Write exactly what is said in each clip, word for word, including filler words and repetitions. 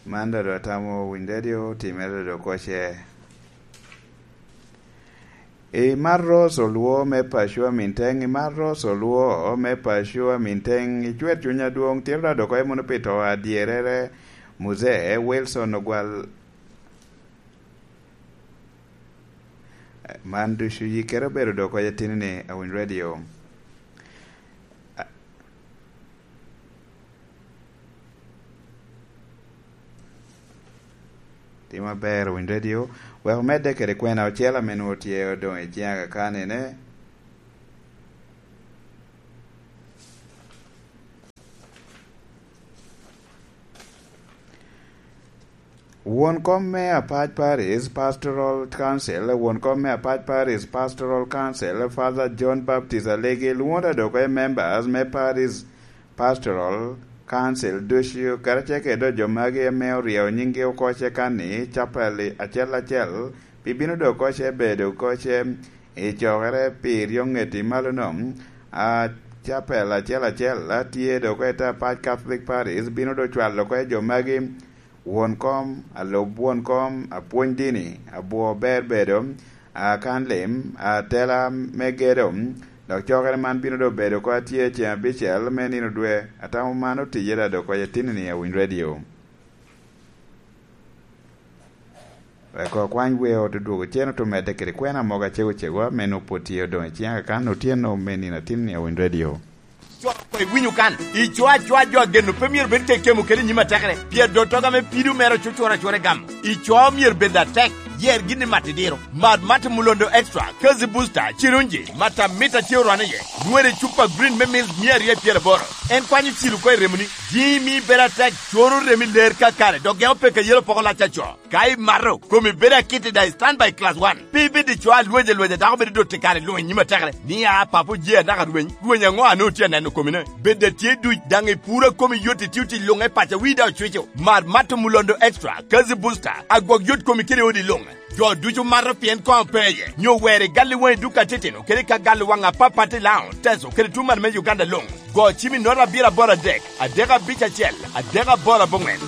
Man dodo atamo winy radio, timere dodo koce. I Marros Olwo me Pacua Minteng, i Marros Olwo me Pacua Minteng, i cwer cuny adwoŋ, tiro dodo koce mono pi to adyerere, Muzee Wilson Ogwal. Man ducu yikkere obedo dodo koce tinni, Awiny Radio. Tim aber, Winy Radio. Wek omedde kede kwena ocel ame nwoŋo tye odoŋ i ciŋ akakani-ne. Won kom me Apac Parish Pastoral Council, won kom me Apac Parish Pastoral Council, Father John Baptist Alegi, lwoŋo dodo koce members me Parish Pastoral Council ducu, karacel kede jo magi ame oryeo nyinggi oko cekan ni, capel acel acel, pi bino doŋ koce bedo koce i cokere pi ryoŋet i malo-nu. A, capel acel acel a tye doŋ oko i te Apac Catholic Parish bino doŋ cwalo oko jo magi, won kom, alub won kom, apwony dini, abwo ber bedo, akan lim, atela me gedo, dok cokere man bino doŋ bedo oko atye ceŋ abicel me nino dwe. Atamo man otije doŋ oko i tinni, Awiny Radio. Wek okwany weo te dwogo cen ote medde kede kwena mogo acego cegwa me nwoŋo pwod tye odoŋ i ciŋ akakan otyeno me nino atinni, Awiny Radio. Cwao oko iwinyo kan. Ico acoa jo ageno pe myero bed kekemo kede i nyim atekere, pien dottogo ame pido mere ocucuro acura i gamo. Ico myero bed atek, yer gin i mat idiro. Mat mat Mulondo Extra, Kazi Booster, Cirunji, mat amit a tye orwane iye. Nwoŋo i cupa green me mils mia aryo i pyeraboro. En kwanyo cil oko i remoni. Jimi bedo atek, coro remi ler kakare, dok gemo peke yelo poko lac aco. Ka imato, komi bedo akit i daŋ i standby class one. Pe ibed i co alwec alwec a dako bedo dot i kare luŋ i nyim atekere, ni, "A, papo je anaka rweny, rweny aŋo a nwoŋo tye aneno komine?" Bed a tye duc, daŋ i puro a komi yot, itio tic luŋ i paco, wii daŋ ocwico. Mar Mato Mulondo Extra, Kazi Booster, agwok yot komi kede odi luŋ. Jo ducu mato pien koŋ pe iye, nyo wer i gal i waŋ i duka atitino, kede ka gal i waŋ apapat i Laon, Teso, kede tuŋ malo me Uganda luŋ. Go cim i nota abiro aboro adek, adek abic acel, adek aboro aboŋwen.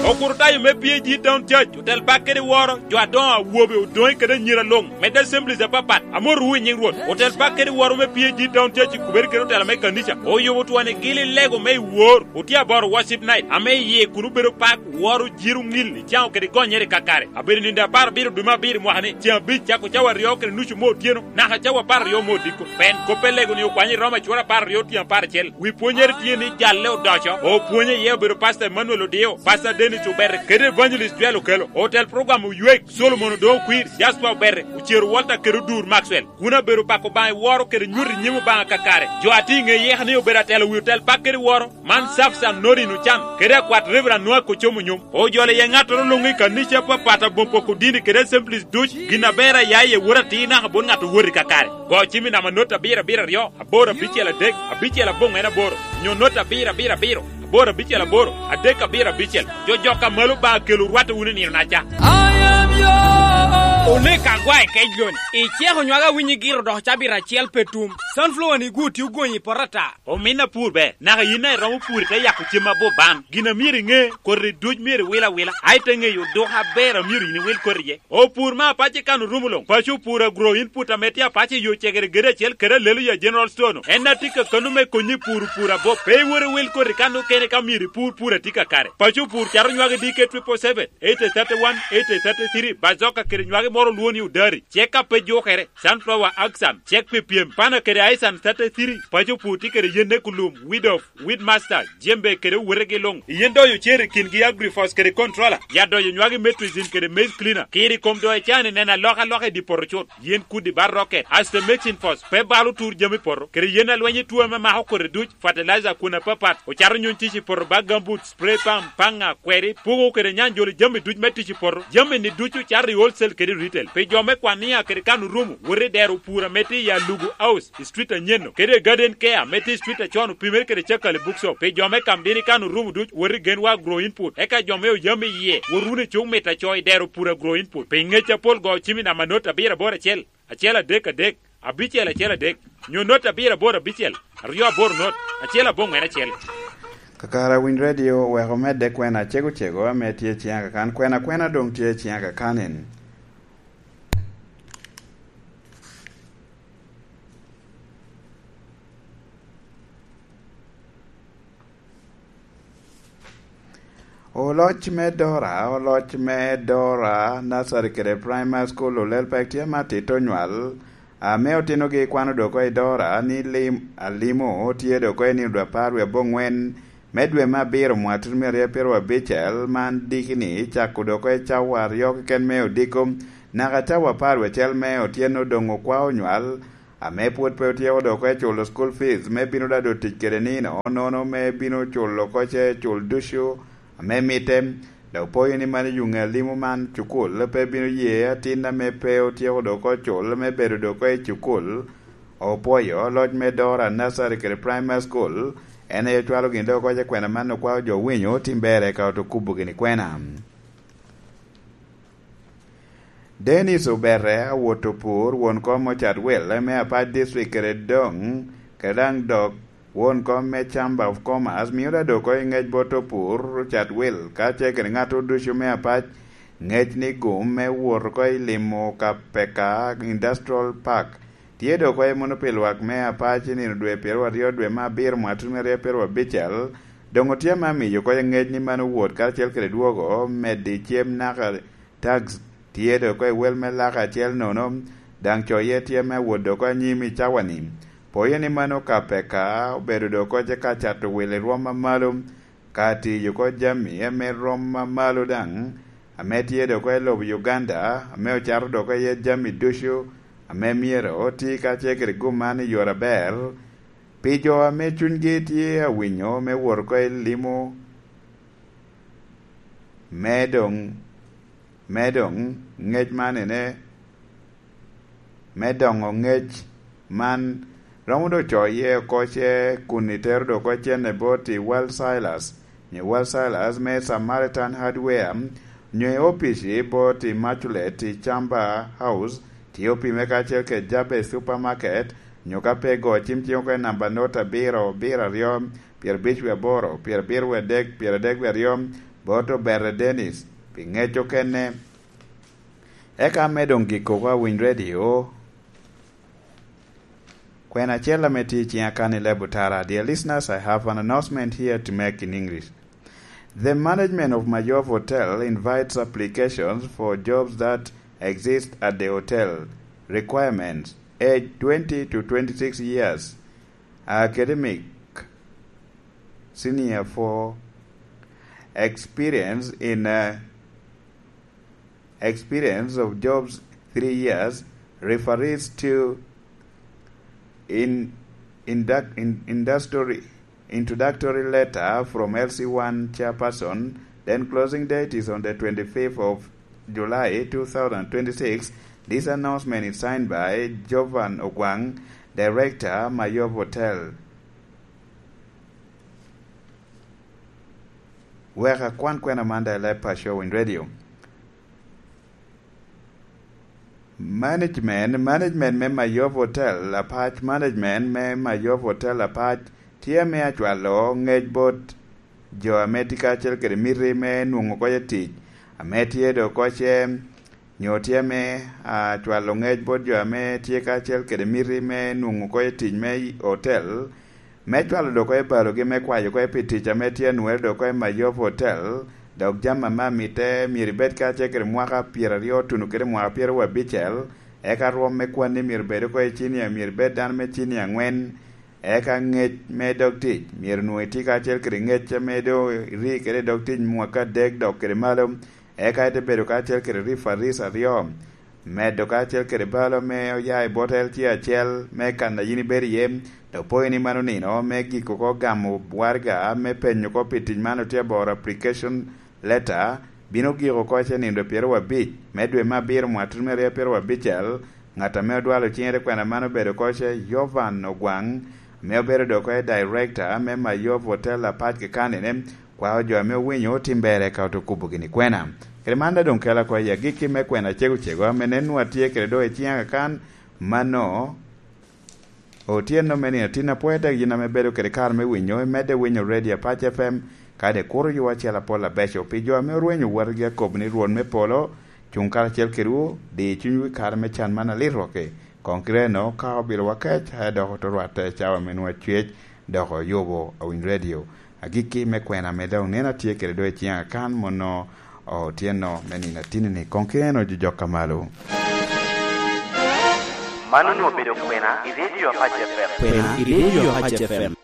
Okurutayo me P A G Town Church otel bak kede woro jo adoŋo awobe odoŋe kede anyira luŋ, medde assemblies apapat, amotowu i nyiŋ Rwot. Otel bak kede woro me P A G Town Church i kubere kede otela me kanica oyubo twoni gili lego me i wor, otye aboro worship night, ame iye kun obedo pak, woro, jiro, ŋil, icaŋo kede gonyere kakare. Abedo nindo apar abiro dwe me abiro mwaka ni, ceŋ abic cako cawa aryo kede nucu me otyeno, naka cawa apar aryo me odiko. Pien kop pe lego ni okwanyo i Roma cura apar aryo tyen apar acel. Wi pwonyere tye ni jalle odoco, opwonye iye obedo Pastor Emmanuel Odio, Pastor Dennis Obere, kede Evangelist Joel Okello. Otel program Oywek, Solomon Odongo Kwir, Jasper Obere, Ocero Walter kede Odur Maxwell. Kun abedo pako Obaŋa i woro kede nyuto i nyim Obaŋa kakare. Jo a tye i ŋe yeka ni obedo atelo wi otel bak kede woro, man Safsan Norin Ocan, kede akwat Reverend Noah Kocomo Nyom. Ojolo iye ŋattoro luŋ i kanica apapat, aboŋo poko dini kede assemblies duc, gin aber a ya iye wot atir naka bot ŋat owot i kakare. Go cim i namba not abiro abiro aryo, aboro abicel adek, abicel aboŋwen aboro, nyo not abiro abiro abiro, aboro abicel aboro, adek abiro abicel. Jo jok a malo Obaŋa kelo rwatte wunu i nino-naca. Oneko agwa i kec loni. Iceko nywage awinyo igiro dok cabit acel pe tum. Sunflower ni gu tye ogonyi i poto ata. Omin apur ber, naka yin a iromo pur ite yako cem aboban. Gin a myero iŋe, koti duc myero iwil awila, a ite ŋeyo oduka aber a myero yin iwil koti iye. Opur me apac i kan orumo luŋ. Paco opur agro input ame tye apac i yo cegere gede acel kede alelo ya General Store-nu. En a tye ka kano me konyi pur pur abop. Pe iwot iwil koti kan okene ka myero ipur pur a tye kakare. Paco opur cato nywage D K triple seven, eighty thirty-one, eighty thirty-three, bazoka kede nywage moro olwo ni odari. Cek a pe jukere, sunflower axan, cek pi pyem, pana kede aisan thirty-three, paco opur tye kede yen ne kulum, weed off, Weedmaster, jembe kede owotegi luŋ. Yen doyo cer i kingi Agrifos kede Controller, ya doyo nywagi Metricin kede Maize Cleaner. Kiri kom doyo cani neno alokaloka i di poto cut. Yen kudi ba rocket, Aster Mixing Force, pe balo tur jami poto, kede yen alweny i tuo ame mako kodi duc, fertilizer kun apapat, ocato nyuny tic i poto ba gambut, spray pump, paŋa, kweri, pugo kede nyanjolo jami duc me tic i poto. Jami ni ducu cato i wholesale kede retail. Pi jo me kwan nia kede kan orumo, wot i dero pur ame tye i Alugu House, i street anyen-nu, kede Garden Care ame tye i street acon opimere kede Cakali Bookshop. Pi jo me Kamdini kan orumo duc, wot i Genwa Agro Input. Eka jo me Oyam i yie, wot wunu i cuk mita co i dero pur Agro Input. Pi ngec apol go cim i namba not abiro aboro acel, acel adek adek, abicel acel adek, nyo not abiro aboro abicel, aryo aboro not, acel aboŋwen acel. Kakare Winy Radio oweko medde kwena acego cego ame tye i ciŋa kakan. Kwena kwena doŋ tye i ciŋa kakan en. Oloc me Dora, oloc me Dora Nursery kede Primary School olel pek tye ma tito nywal, ame otinogi kwano dok oko i Dora ni lim, alimo tye dok oko i nino dwe apar wie aboŋwen me dwe me abiro mwaka tutumia aryo pyero abicel, man diki ni cako dok oko i cawa aryo keken me odiko, naka cawa apar wie acel me otyeno doŋ okwao nywal, ame pwod pe otyeko dok oko i culo school fees me bino dado tic kede nino, nono me bino culo oko ce cul ducu ame mitte. Dok poyo ni mano yuŋe alimo man cukul pe bino ye atin ame pe otyeko dok oko cul me bedo dok oko i cukul. Opwoyo loc me Dora Nursery kede Primary School, en aye ocwalo gin dok oko ce kwena man okwao jo winyo tim berre ka oto kubo gini kwena. Dennis Obere awot opur won kom Ocat Wil me Apac District kede doŋ, kede daŋ dok won kom me Chamber of Commerce mio da dok oko i ŋec bot opur Ocat Wil ka ce kede ŋat ducu me Apac ŋec ni gum me wot oko i limo ka peka Industrial Park tye dok oko i mono pi lwak me Apac i nino dwe pyero aryo dwe me abiro mwaka tutumia aryo pyero abicel. Doŋ otye ame amiyo oko i ŋec ni mano wot karacel kede dwogo medde i cem naka tax tye dok oko i wel me laka acel nono, daŋ coye tye me wot dok oko anyim i cawa-ni. Poyo ni mano ka peka obedo dok oko ce ka cato wil i rwom amalo, ka tiyo oko jami ame rwom amalo daŋ, ame tye dok oko i lobo Uganda, ame ocato dok oko iye jami ducu, ame myero oti ka ce kede gum man i yore aber, pi jo ame cunygi tye awinyo me wot oko i limo, me doŋ, me doŋ ŋec man ene, me doŋo ŋec man romo doŋ coye oko ce kun itero dok oko cene bot i Wal Silas, nyo Wal Silas me Samaritan Hardware, nyo i opici bot i Immaculate i Chamba House, tye opime kacel kede Jabez Supermarket, nyo ka pe go cim cing oko i namba not abiro, abiro aryo, pyerabic wie aboro, pyerabiro wie adek, pyeradek wie aryo, bot Obere Dennis, pi ŋec okene. Eka me doŋ gik oko a Winy Radio, kwena acel ame tye i ciŋa kan i leb otara. Dear listeners, I have an announcement here to make in English. The management of Mayov Hotel invites applications for jobs that exist at the hotel. Requirements: age twenty to twenty-six years, academic senior four, experience in, uh, experience of jobs three years, referees to in, induct, in, industry, introductory letter from L C one chairperson. Then closing date is on the twenty-fifth of July two thousand twenty-six. This announcement is signed by Jovan Ogwang, Director, Mayov Hotel. Wek akwan kwena man da i leb pa Showin Radio. Management, management me Mayov Hotel Apac, management me Mayov Hotel Apac tye me acwalo ŋec bot jo ame tye kacel kede miti me nwoŋo oko i tic, ame tye dok oko ce, nyo tye me, a, cwalo ŋec bot jo ame tye kacel kede miti me nwoŋo oko i tic me hotel, me cwalo dok oko i balogi me kwayo oko pi tic ame tye anwere dok oko i Mayov Hotel, dok jami ame amitte myero ibed kacel kede mwaka pyeraryo tuno kede mwaka pyeraryo abicel, eka rwom me kwanni myero bed oko i cinia, myero ibed dano me cinia angwen, eka ŋec me dog tic myero onwoŋo itye kacel kede ŋec ame doŋ iri kede i dog tic mwaka adek dok kede malo, eka ite bedo kacel kede rifaris aryo, medo kacel kede balo me oya i bot L C acel me kan a yin ibedo iye, dok poyo ni mano nino me giko oko gamo waraga me penyo oko pi tic man otye aboro application letter, bino giko oko ce nino pyeraryo abic me dwe me abiro mwaka tutumia aryo pyeraryo abicel. Ŋat ame odwalo ciŋe te kwena man obedo oko ce Yovan Ogwaŋ, ame obedo dok oko i director me Mayov Hotel Apac Kikanine, kwao jo ame owinyo otim berre ka oto kubo gini kwena. Kede man da doŋ kela oko i agikki me kwena cego cego ame nen nwa tye kede doŋ i ciŋa kakan, mano Otyeno me nino tin apwoya dek yin ame bedo kede kare me winyo, imedde winyo Radio Apac F M, kadi kuro yo acel apol abeco. Pi jo ame orwenyo wotgi akobo ni Rwot me polo cuŋ karacel kedwu, di cunywu i kare me can man alit rwokki. Koŋ kite eno, ka obilo wakec, aye dok oto rwatte cawa me nwa cwec, dok oyubo awiny radio. Agikki me kwena ame dok neno atye kede do i ciŋ akan mono otyeno me nino atini-ni. Koŋ kite eno jojok ka malo. Man onwoŋo obedo kwena i Radio Apac F M. Kwena i Radio Apac F M.